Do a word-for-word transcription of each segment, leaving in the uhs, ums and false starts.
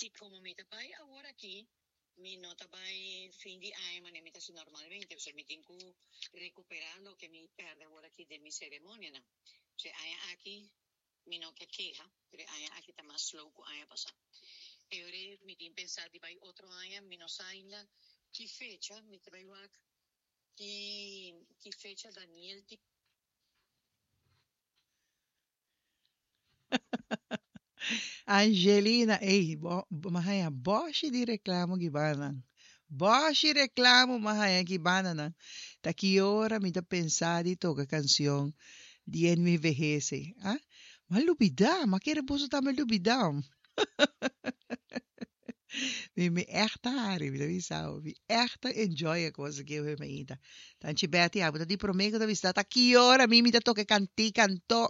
Si komo mi ta bai awor aki, mi no ta bai fin di aña manera mi ta hasi normalmente, pasobra mi tin ku rekuperá loke mi pèrdè awor aki den mi seremonianan. So e aña aki mi no ke keha, pero e aña aki ta mas slow ku aña pasá. E ora mi tin pensá di bai otro aña, mi no sa ainda ki fecha, mi ta bai wak ki ki fecha Daniel tin. Angelina, ey, bo, bo m'a haña bòshi di reklamo gibananan. Bòshi reklamo m'a haña gibananan. Ta ki ora mi ta pensa di toka kansion di En mi vejez ei. Ah, m'a lubidá, m'a kere boso tambe lubidá. Mi mi ègt ta hari, mi ta bisa bo. Mi ègt ta enjoy e kos aki awe mainta. Tanchi Betty, abo ta di promé ku ta bisa ta ki ora mi mi ta toka e kantika anto.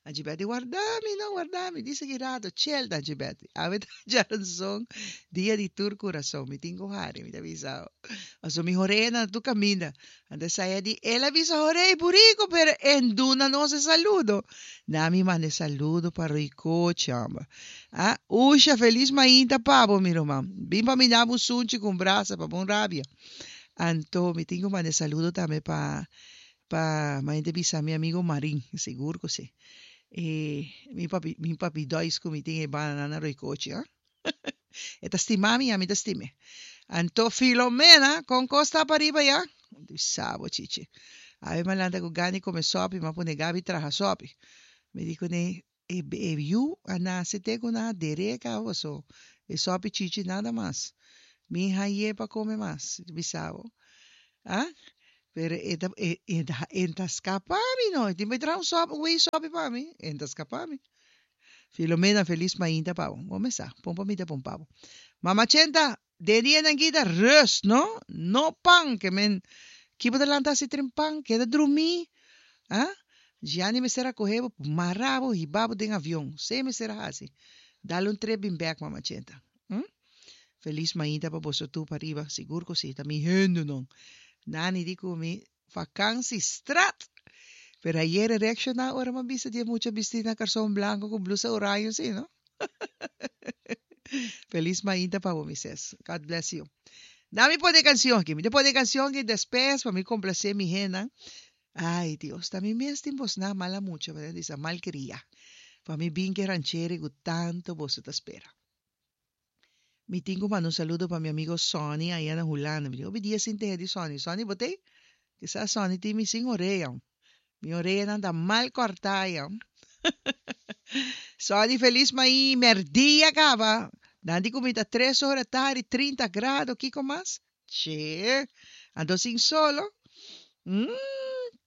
Tanchi Betty, warda mi no, warda mi. Disa ki rato, chill Tanchi Betty. Awe ta djaranson, dia di tur kurason. Mi tin ku hari, mi ta bisa bo. Pasobra mi horeanan ta tur kaminda. Anto esei a di, El a bisa Horei buriku, pero e duna nos e saludo. Na mi manda e saludo pa Roycoche, homber. Ah, Usha, felis mainta pa bo, mi ruman. Bin pa mi na bo sunchi ku un brasa pa bo un rabia. Anto mi tin ku manda e saludo tambe pa pa mainta bisa mi amigo Marin, sigur ku si. E mi papi mi papi Dois ku mi tin e banda na Roycoche, ah. E ta stima mi, ami ta stim'e. Anto Filomena, kon kos ta pariba ya? Di sabo, Chichi. Awe mi a lanta ku gana di kome sòpi, mi a pone Gabi traha sòpi. Mi di kuné, e e yu a nase te ku nan a der'é kaba paso e sòpi Chichi nada mas. Mi hañ'é pa kome mas. Di bisabo. Ah, pero e ta e e ta e ta skapa mi no. E tin bai traha un sòpi, un wei sòpi pa mi. E ta skapa mi. Filomena, felis mainta pa bo. Bo mes sa, pon pa mi ta pon pa bo. Mama Chenta, den dianan aki ta rust, no? No pan, ke men ki bo ta lanta hasi tren pan, keda drumí. Ah? Gianni mester a kohe bo, mara bo, hiba bo den avion. Esei mester a hasi. Dal un trip bin bek, Mama Chenta. Hm? Felis mainta pa boso tur pariba. Sigur ku si, ta mi hendenan. Nani di ku mi Vakansi strat! Pero ayer e reakshoná ora m'a bisa di e mucha bistí na karson blanko ku blusa oraño si, no? Felis mainta pa bo, mi ses. God bless you. Na mi pone e kansion aki. Mi ta pone e kansion aki despes pa mi komplasé mi hennan. Ai, Dios, ta mi mes tin bosnan mala mucha, manera di bisa malkriá. Pa mi bin ku e rancheri ku tantu boso ta spera. Mi tin ku manda un saludo pa mi amigo Sonny aya na Hulanda. Mi di hopi dia sin tehe di Sonny. Sonny bo t'ei? Kisas Sonny tin mi sin orea. Mi oreanan ta mal kòrtá aya. Sonny felis mai mèrdia kaba. Nan di ku mi ta tres ora tardi, trinta grado, kiko mas? Che! Anto sin solo? Umm!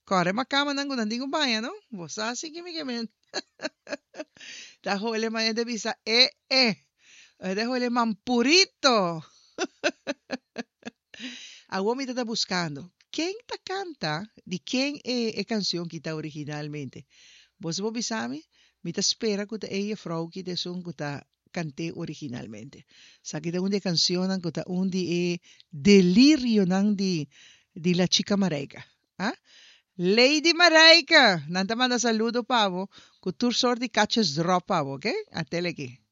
Kòrè makamanan ku nan tin ku baña no. Bo sa si ki mi ke men. Ta hole mañana ta bisa e e. E ta hole mampurito. Awor mi ta ta buskando ken ta kanta di ken e e kansion ki ta originalmente. Boso por bisa mi? Mi ta spera ku ta e jefrou ki ta esun ku ta kant'é originalmente. Esaki ta un di e kansionnan ku ta un di e delirionan di di La Chica Marijke. Ah? Lady Marijke! Nan ta manda saludo pa bo ku tur sort di kachesdròp pa bo, oke? Atele aki.